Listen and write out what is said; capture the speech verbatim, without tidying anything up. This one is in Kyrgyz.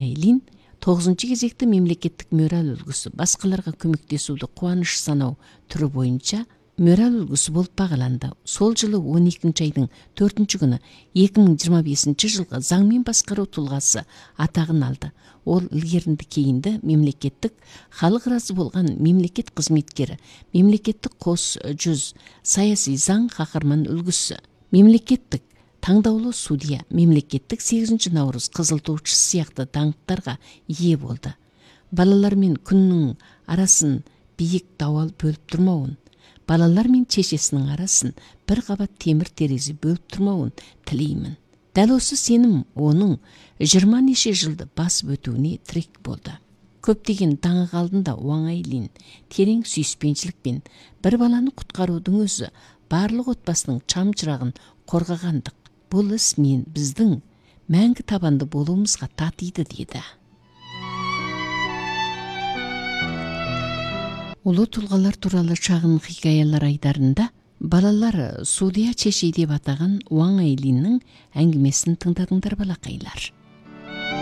Айлин тогузунчу кезекте мемлекеттик мораль үлгүсү башкаларга көмөктөшүүдү кубаныч саноо түрү боюнча мораль үлгүсү болуп багаланды. Сол жылы он экинчи айдын төртүнчү күнү эки миң жыйырма бешинчи жылга заң менен башкаруу тулгасы атагын алды. Ол илгеринде кейинде мемлекеттик халык ыраазы болгон мемлекет кызметкери, мемлекеттик кос жүз, саясий заң кахарман үлгүсү, мемлекеттик таңдаулуу судья, мемлекеттик сегизинчи Наурыз кызылтуучусу сыяктуу даңктарга ээ болду. Балалар менен күнүнүн арасын бийик дабал бөлүп турмаун, балалар менен чечесинин арасын бир кабат темир терезе бөлүп турмаун тилеймин. Дал осы сеним онун жыйырма нече жылды басып өтүүнү тирек болду. Көптөгөн таңы алдында Ваң Айлин терең сүйүспенчиликпен бир баланы куткаруудун өзү баардык отбасынын чам чырагын коргогандык. Бул іс мен биздин мәңгі табанды болуумузга татыйды деди. Улуу тулгалар тууралуу чагын хикаялар айдарында балалар судья чечи деп атаган Ваң Айлиннин әңгимесин тыңдадыңдар балакайлар.